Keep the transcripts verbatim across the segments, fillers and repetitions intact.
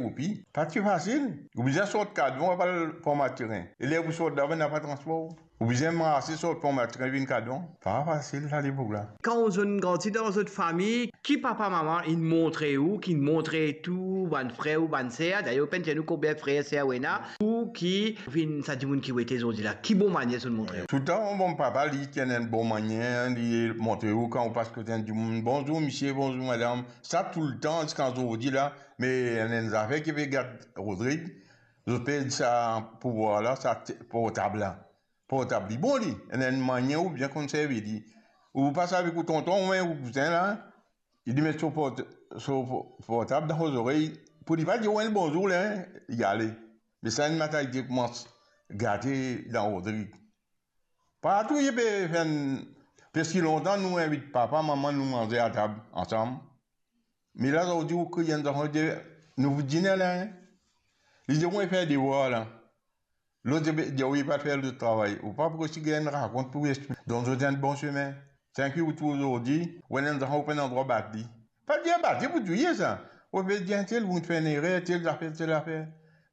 roupi. Pa ti fasil. Ou bizin sort Kadvan, ou al Pont Mathurin. E ler pou sort laba, napa transpor. Ou bizin marse sort Pont Mathurin vinn Kadvan. Pa fasil sa lepok la. Kan ou zot inn grandi dan zot fami, ki papa mama inn montre ou, ki inn montre tou bann frer ou bann ser, dayer ou pena dir nou konbien frer ser ou ena, ou ki finn sa dimoun ki ou ete zordi la, ki bon manier zot inn montre ou? Toultan, bon, papa, li ti ena enn bon manier, li montre ou kan ou pas kot enn dimoun, "Bonzour misie, bonzour madam." Sa toultan, ziska zordi la, me ena enn zafer ki pe gat Rodrig, zot perdi sa pouvwar la, sa te-, portab la. Portab li bon li, ena enn manier ou bizin konn servi li. Ou pas avek ou tonton oubien ou kouzin la, li met so port-, so po-, portab dan so zorey, pou li pa dir ou enn bonzour la, li ale. Me sa enn mantalite koumans gate dan Rodrig. Partou li pe fer enn, parski lontan nou invit papa, mama, nou manze atab ansam. Me la, zordi ou kriy enn zanfan, dir, "Nou pou dine la, hein?" Li dir, "Wi, fer devwar la." Lot dir, "Wi, pa fer lot travay." Ou pa pou resi gagn rakont pou resi donn zot enn bon sime. Tanki ou trouv zordi, ou ena enn zanfan, ou pena drwa bat li. Pa dir bat li pou touye sa. Ou pe dir, "Tel, ou fer enn erer, tel zafer, tel zafer."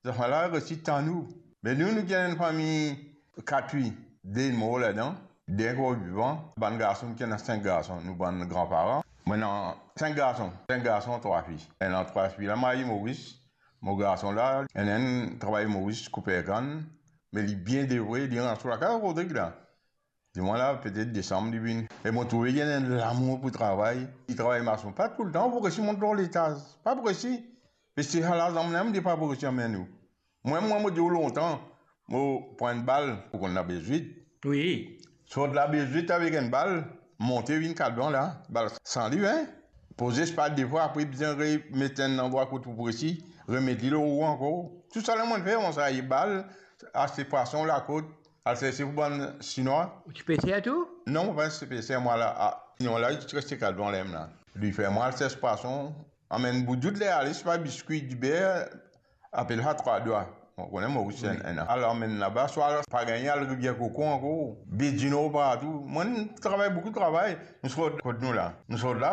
Zanfan la resi tann ou. Me nou, nou gagn enn fami kat fi, de mor ladan, de ankor vivan. Bann garson, ki ena sink garson, nou bann granparan. Mo ena sink garson, sink garson, trwa fi. Ena trwa fi la marye Moris. Mo garson la, ena enn travay Moris, kouper kann, me li bien devwe, li rant so lakaz Rodrig la. Dimwa la, petet desanm li vini. E mo trouve li ena enn lamour pou travay. Li travay mason, pa toultan, ou pou resi mont lor letaz. Pa pou resi. Parski sa lazam la, mo dir pa pou resi amenn ou. Mwa, mwa, mo dir ou lontan, mo pran enn bal, ou konn Labezwit. Wi. Sort Labezwit avek enn bal, monte vinn Kalban la, bal san liv, hein. Poze spa de fwa, apre bizin remet enn landrwa kot ou pou resi, remet li lor ou ankor. Tousala mo finn fer, mo swiv bal, aste pwason lakot, al serse pou bann Sinwa. Ou ti peser tou? Non, mo pa ti peser mwa la. Ah, Sinwa la, li ti reste Kalban la mem la. Li fer mwa al sers pwason, amenn boudout, ler ale, swa biskwi, diber, apel sa trwa dwa. Mo kone Moris enn, enn an. Al amenn laba, swa pa gagn al Rivier Koko ankor, Baie du Nord partou. Mo travay, boukou travay. Nou sort kot nou la. Nou sort la,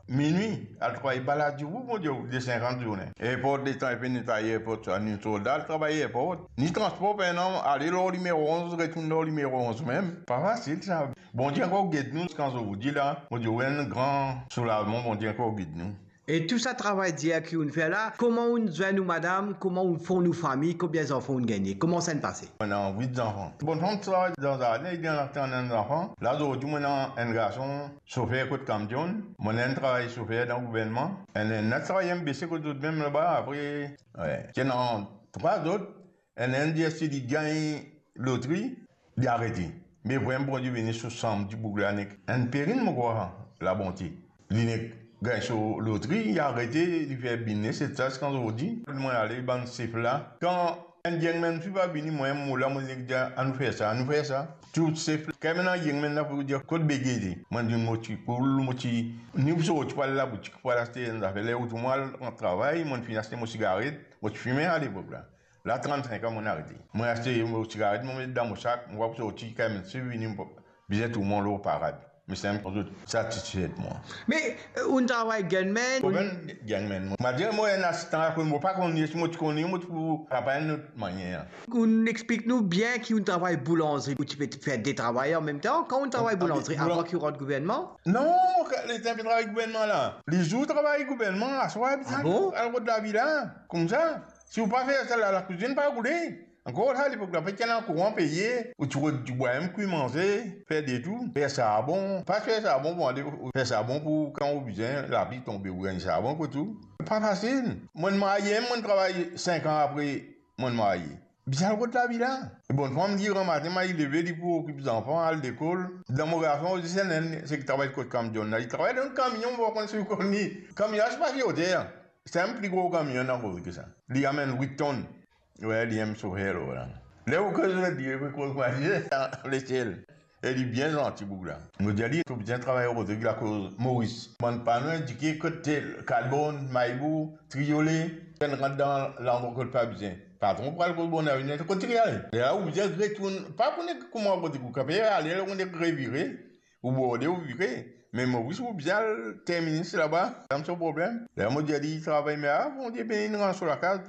minwi, al travay bal a dibou, mo dir ou, de sinkant zourne. Erport, letan inn fini netwaye erport, sa, nou sort la, al travay erport. Ni transpor, pena, ale lor limero onz, retourn lor limero onz mem. Pa fasil sa. Bondie ankor gete nou, ziska zordi la, mo dir ou, enn gran soulazman, Bondie ankor gete nou. E tou sa travay dir ki ou'nn fer la, kouma ou'nn zwenn ou madam, kouma ou'nn fond ou fami, konbien zanfan ou'nn gagne, kouma sa inn pase? Mo ena wit zanfan. Bonnfam ti travay dan zardin, li ena enn zanfan. La zordi mo ena enn garson sofer kot kamion, mo ena enn travay sofer dan gouvernman, enn, enn lot travay M B C kot zot mem laba, apre, wi, ti ena trwa zot, enn, enn dir si li gagn lotri, li arete. Me vremem Bondie beni so sanm dimoun la nek enn perinn, mo krwar, labonte. Li nek gagn so lotri, li arete, li fer biznes, etsetera ziska zordi. Mo ale bann sef la. Kan enn gangman finn pa vini, mwa, mo la, mo nek dir, "Anou fer sa, anou fer sa." Tou sef, kan ena gangman la pou dir, "Kot bege ete?" Mo dir, "Mo ti koul, mo ti, ni pou sorti pou al laboutik, pou al aste enn zafer." Ler ou trouv mwa al rant travay, mo finn aste mo sigaret, mo ti fime alepok la. La, trannsink an, mo arete. Mo aste mo sigaret, mo met dan mo sak, mo pa pou sorti, kan enn sef vini, mo pa bizin trouv mwa lor parad. Me sa, zot satisfe mwa. Me, eh, ou'nn travay gangman? Mo pa gangman, mo. Mo dir mo enn asistan lakoz, mo pa konn li, si mo ti konn li, mo ti pou travay enn lot manier. Ou'nn explik nou bien ki ou'nn travay boulanzri, ou ti pe fer de travay anmemtan. Kan ou'nn travay boulanzri, boulan- avan ki ou rant gouvernman? Non, letan pe travay gouvernman la. Lizour travay gouvernman, aswar, ah bon? Al rod lavi la, koumsa. Si ou pa fer sa la, lakouzinn pa roule. Ankor sa, lepok la, pa ti ena kouran peye, ou ti rod dibwa mem, kwi manze, fer de tou, fer sarbon, pa fer sarbon pou ale, fer sarbon pou kan ou bizin, lapli tonbe, ou gagn sarbon kot ou. Pa fasil. Mo'nn marye, mo'nn travay sink an apre mo'nn marye. Bizin al rod lavi la. E bonnfam, li gramatin, li leve, li pou okip zanfan, al lekol. Dan mo garson osi, enn, enn, seki travay kot kamion la. Li travay dan kamion, mo pa konn si ou konn li. Kamion la, se pa vye oter. Se enn pli gro kamion ankor ki sa. Li amenn wit tonn. Wi, li enn sofer la. Ler ou koz li, li pe koz mwa, li lesiel. E li bien zanti, boug la. Mo dir li, to bizin travay Rodrig lakoz Moris. Bann pano indike kot tel, Kalbonn, Maybou, Triole, enn rant dan landrwa kot pa bizin. Patron pou al koz Bonavini, kot li ale. Ler la ou bizin retourn, pa pou nek kouma Rodrig ou kape ale, ler ou nek revire, ou borde, ou vire. Me Moris ou bizin al termine laba, sa so problem. Ler mo dir li travay, me a, Bondie beni, rann so lakaz.